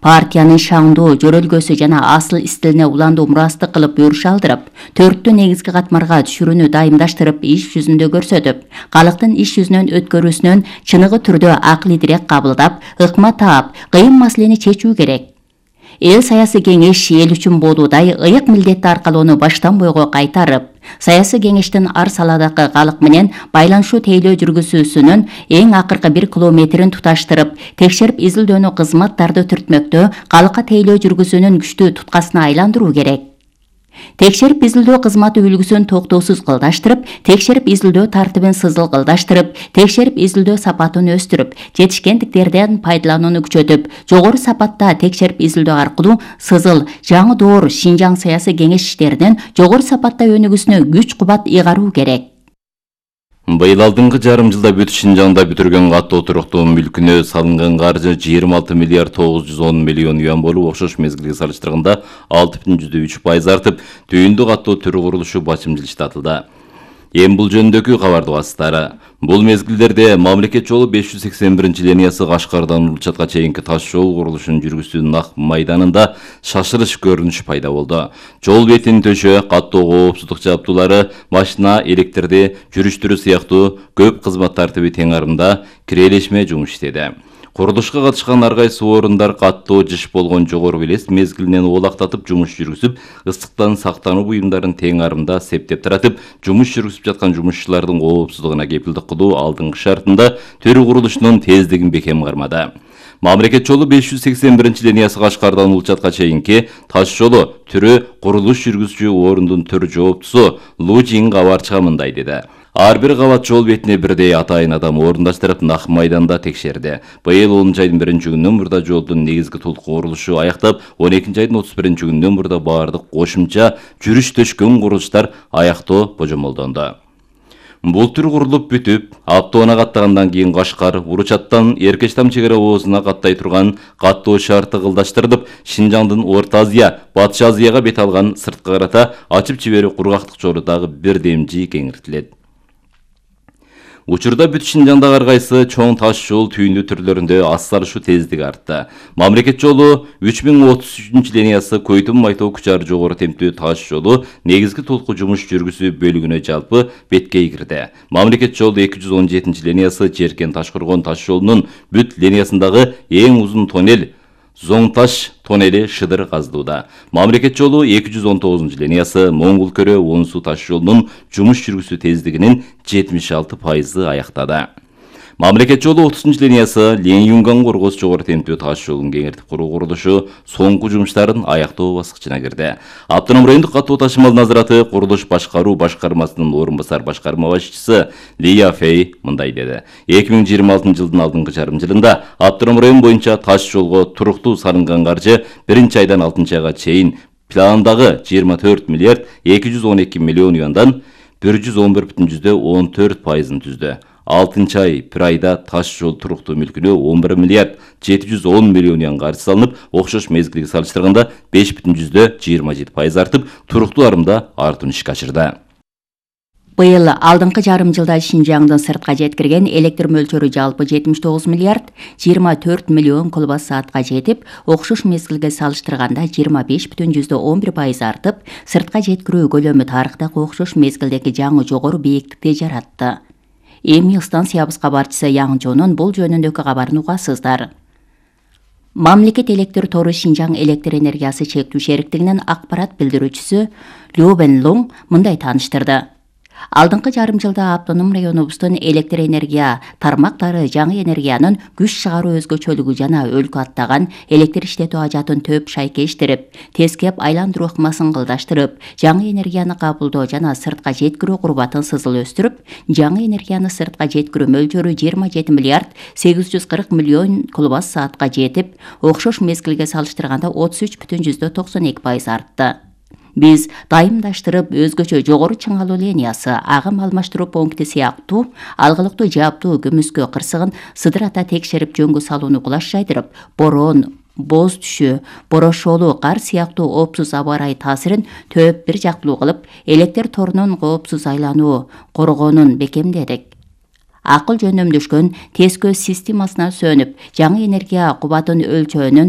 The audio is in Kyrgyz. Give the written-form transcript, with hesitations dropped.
Партиянын шаңдуу жөрөлгөсү жана асыл стилине уландуу мурастык кылып буюруш алдырып, 4 негизги катмарга түшүрүүнү дайымдаштырып, иш жүзүндө көрсөтүп, калктын иш жүзүнөн өткөрүүсүнөн чыныгы түрдө акылдуураак кабылдап, ыкма таап, кыйын маселени чечүү керек. Эл саясий кеңеш эл үчүн болуудай ыйык милдетти аркалоону баштан бойго кайтарып, саясий кеңештин ар саладагы калк менен байланышуу тейлөө жүргүзүүсүнүн эң акыркы 1 километрин туташтырып, текшерип изилдөөнү кызматтарды түртмөктө калкка тейлөө жүргүзүүнүн күчтүү туткасына айландыруу керек. Текшерип изилдөө кызматы үлгүсүн токтоосуз кылдаштырып, текшерип изилдөө тартибин сызыл кылдаштырып, текшерип изилдөө сапатын өстүрүп, жетишкендиктерден пайдаланууну күчөтүп, жогору сапатта текшерип изилдөө аркылуу сызыл, жаңы доор Шинжаң саясий кеңеш иштеринин жогору сапатта өнүгүүсүнө күч кубат ыйгаруу керек. Быйыл алдыңкы жарым жылда бүт Шинжаңда бүтүргөн каттоо туруктуу мүлкүнө салынган каржы 26 миллиард 910 миллион юан болуп, окшош мезгилге салыштырганда 6,3% артып, түйүндү каттоо түрү курулушу бачым жылыштатылды. Эми бул жөнүндөгү кабарды басыстары. Бул мезгилдерде мамлекет жолу 581-линиясы Кашкардан Улучатка чейинки таш жол курулушун жүргүзүүнүн Нак майданында шашырыш көрүнүш пайда болду. Жол бетин төшөө, каттоо коопсуздук жабдуулары, машина, электрди жүрүштүрүү сыяктуу көп кызмат тартиби тең арымда кирелешме жумуш иштеди. Курулушка катышкан ар кайсы орундар каттоо жыш болгон жогору белес мезгилинен оолактатып жумуш жүргүзүп, ысыктан сактануу буюмдарын тең арымда септеп таратып, жумуш жүргүзүп жаткан жумушчулардын коопсуздугуна кепилдик кылуу алдыңкы шартында төрү курулушунун тездигин бекем кармады. Мамлекет жолу 581-линиясы Кашкардан Улучатка чейинки таш жолу түрү курулуш жүргүзүүчү орундун төр жооптусу Лужин Кабарчыга мындай деди. Ар бир кабат жол бетине бирдей атайын адам орундаштырып Нак майданда текшерди. Быйыл 10 айдын 1-күнүнөн мурда жолдун негизги толук курулушу аяктап, 12 айдын 31-күнүнөн мурда баардык кошумча жүрүш төшкөн курулуштар аяктоо божомолдонду. Бул түр курулуп бүтүп, Аптоона каттагандан кийин Кашкар, Уручаттан Эркечтам чек ара оозуна каттай турган каттоо шарты кылдаштырылып, Шинжаңдын Орто Азия, Батыш Азияга бет алган сырткы карата ачып жиберүү кургактык жолу дагы бирдемжи кеңиртилет. Учурда бүт Шинжаңдагы ар кайсы чоң таш жол түйүндү түрлөрүндө ассарышуу тездиги артты. Мамлекет жолу 3033-линиясы Көйтүм Майтоо Кучар жогору темптүү таш жолу негизги толку жумуш жүргүзүү бөлүгүнө жалпы беткей кирди. Мамлекет жолу 217-линиясы Жеркен Ташкоргон таш жолунун бүт линиясындагы эң узун тоннель Зоңташ тоннели шыдыр казылууда. Мамлекет жолу 219-линиясы Моңгул Көрө Онсу таш жолунун жумуш жүргүзүү тездигинин 76% аяктады. Мамлекет жолу 30-линиясы Ленин-Юнган Коргоз жогору темптүү таш жолун кеңиртип куруу курулушу соңку жумуштарын аяктоо баскычына кирди. Автоном райондук каттоо ташымал назараты курулуш башкаруу башкармасынын орун басар башкарма башчысы Лия Фей мындай деди. 2026 жылдын алдыңкы жарым жылында Автоном район боюнча таш жолго туруктуу салынган каржы 1-айдан 6-айга чейин пландагы 24 миллиард 212 миллион юандан 111,14%-ын түздү. 6-ай бир айда таш жол туруктуу мүлкүнө 11 миллиард 710 миллион юан каржы салынып, окшош мезгилге салыштырганда 5,27% артып, туруктуу арымда артын ишке ашырды. Быйыл алдыңкы жарым жылда Шинжаңдын сыртка жеткирген электр мөлчөрү жалпы 79 миллиард 24 миллион киловатт саатка жетип, окшош мезгилге салыштырганда 25,11% артып, сыртка жеткирүү көлөмү тарыхтагы окшош мезгилдеги жаңы жогору бийиктикти жаратты. Эми станциябыз кабарчысы Яңжонун бул жөнүндөгү кабарын угасыздар. Мамлекет электр тору Шинжаң электр энергиясы чектүү шериктигинин акпарат билдирүүчүсү Лю Бенлуң мындай тааныштырды. Алдыңкы жарым жылда автоном районубуздун электр энергия тармактары жаңы энергиянын күч чыгаруу өзгөчөлүгү жана өлкө аттаган электр иштетүү ажатын төп шайкештирип, тескеп айландыруу ыкмасын кылдаштырып, жаңы энергияны кабылдоо жана сыртка жеткирүү курбатын сызыл өстүрүп, жаңы энергияны сыртка жеткирүү мөлчөрү 27 миллиард 840 миллион киловатт саатка жетип, окшош мезгилге салыштырганда 33,92% артты. Биз дайымдаштырып өзгөчө жогору чыңалуу линиясы, агым алмаштыруу пункти сыяктуу алгылыктуу жаптуу көмүскө кырсыгын сыдырата текшерип жөнгө салууну кулаш жайдырып, борон, боз түшүү, борошолуу кар сыяктуу оопсуз аба ырайы таасирин төп бир жактылуу кылып, электр торунун коопсуз айлануу коргоонун бекемдедик. Акыл жөнөмдөшкөн тез көз системасына сөнүп, жаңы энергия кубатын өлчөөнүн